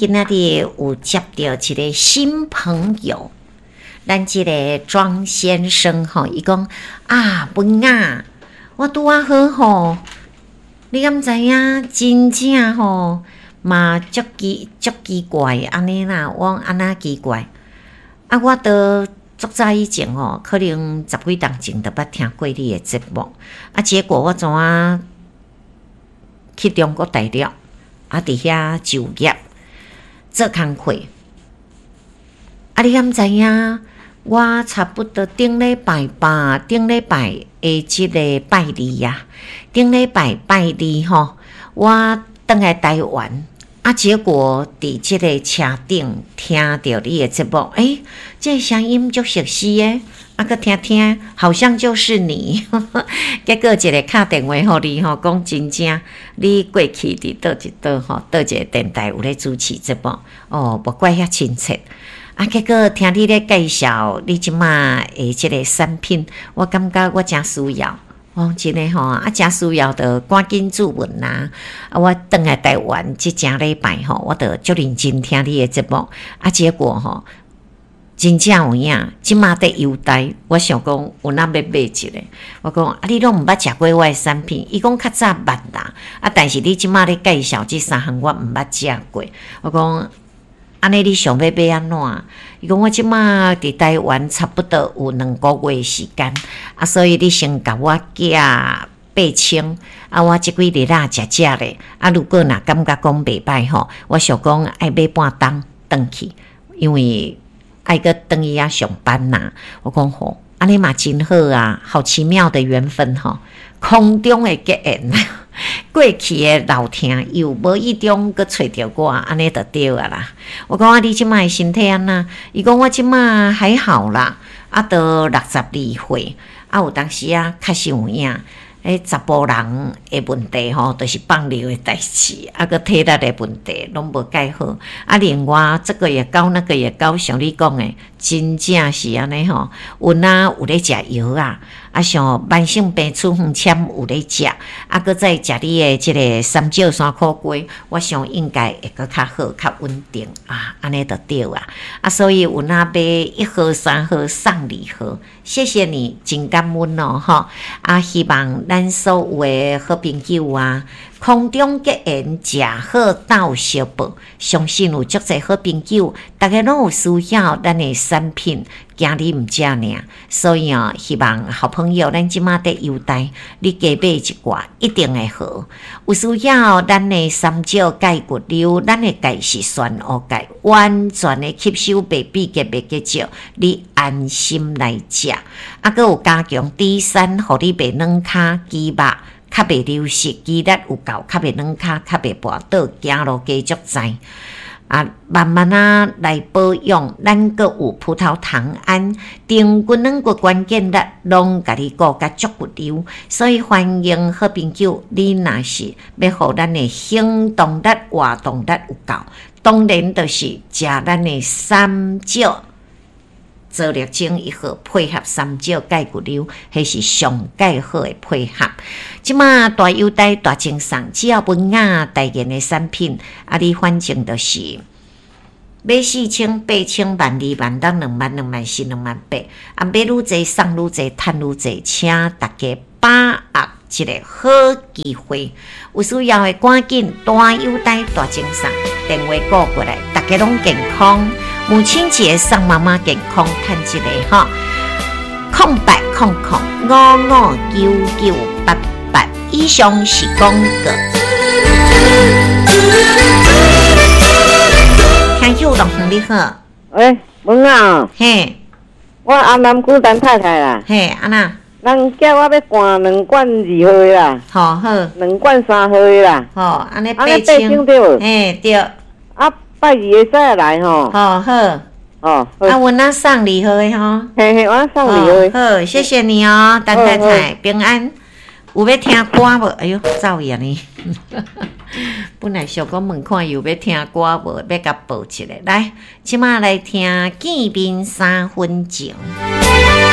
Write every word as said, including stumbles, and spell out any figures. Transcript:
今仔日有接著一个新朋友，咱這个莊先生吼，伊講啊，文雅，我拄仔好吼，你敢知影？真正吼嘛足奇足奇怪按呢啦，我講按怎奇怪？啊，我都足早以前吼，可能十幾冬前就捌聽過你的節目，啊，結果我怎啊去中國大陸，啊，佇遐就業做工課，啊，你敢知影？我差不多頂禮拜吧，頂禮拜的這个拜二啊，頂禮拜拜二吼，我轉來台灣，啊，結果佇這个車頂聽著你的節目，欸，這个聲音足熟悉的，啊，閣聽聽，好像就是你。結果一个敲電話予你吼，講真正你過去佇佗一佗吼，佗一个電台有咧主持節目，哦，無怪遐親切。啊，結果聽你咧介紹你這馬的這個產品，我感覺我誠需要。哦，真的吼，啊，誠需要就趕緊注文啊！啊，我轉來台灣這誠禮拜吼，我就足認真聽你的節目，啊，結果吼，真正有影，這馬佇優待，我想講有哪欲買一个，我講啊，你攏毋捌食過我的產品，伊講較早捌啦，啊，但是你這馬咧介紹這三項，我毋捌食過，我講。按呢，你想欲買按怎？伊講我這馬佇台灣差不多有兩個月時間，啊，所以你先共我寄八千，啊，我這幾日仔食食咧，啊，如果若感覺講袂䆀吼，我想講愛買半冬轉去，因為愛閣轉去遐上班呐。我講好，按呢嘛真好啊，好奇妙的緣分吼，空中的結緣。過去的老聽友無意中閣揣著我，按呢就對啊啦。我講啊，你這馬的身體按怎？伊講我這馬還好啦，啊，都六十二歲，啊，有當時啊，確實有影。彼查埔人的問題吼，就是放尿的代誌，啊，閣體力的問題攏無蓋好。啊，另外這個也高，那個也高，像你講的，真正是按呢吼。有哪有咧食藥啊？啊，像慢性病處方簽有咧食，啊，閣再食你的這个三石山苦瓜，我想應該會閣較好、較穩定啊，按呢就對啊。啊，所以有哪買一盒、三盒送禮盒，謝謝你，真感恩哦，吼。啊，希望咱所有的好朋友啊，空中結緣，食好鬥相報，相信有足濟好朋友，逐家攏有需要咱的產品，驚你毋食爾，所以哦，希望好朋友咱這馬佇優待，你加買一寡，一定會好。有需要咱的三石鈣骨溜，咱的鈣是全烏鈣，完全的吸收袂比結袂結石，你安心來食。啊，閣有加強 D 三，予你袂軟跤肌肉。較袂流失，肌力有夠，較袂軟跤，較袂跋倒，行路加足在。啊，慢慢仔來保養，咱閣有葡萄糖胺、長骨軟骨關鍵力，攏共你顧甲足骨溜。所以歡迎好朋友，你若是欲予咱的行動力、活動力有夠，當然就是食咱的三石。做力精一號配合三石鈣骨溜，彼是上蓋好的配合。這馬大優待大贈送，只要文雅代言的產品，啊，你反正就是買四千、八千、萬二、萬六、兩萬、兩萬四、兩萬八，啊，買愈濟送愈濟，趁愈濟，請大家把握這个好機會。有需要的趕緊大優待大贈送，電話撥過來，大家攏健康。母親節送媽媽健康，趁一个吼，空八空空五五九九八八，以上是廣告。聽友樂園你好，喂，文啊，嘿，我安南區陳太太啦，嘿，按怎？人叫我欲換兩罐二號的啦，好好，兩罐三號的啦，好，按呢按呢八千對無？嘿對。啊，拜二會使來吼。好好。哦。啊，阮那送二號的吼。嘿嘿，我送二號的。好，謝謝你哦，陳太太平安。有欲聽歌無？哎喲，走去啊呢。本來想講問看有欲聽歌無，欲共報一下。來，這馬來聽見面三分情。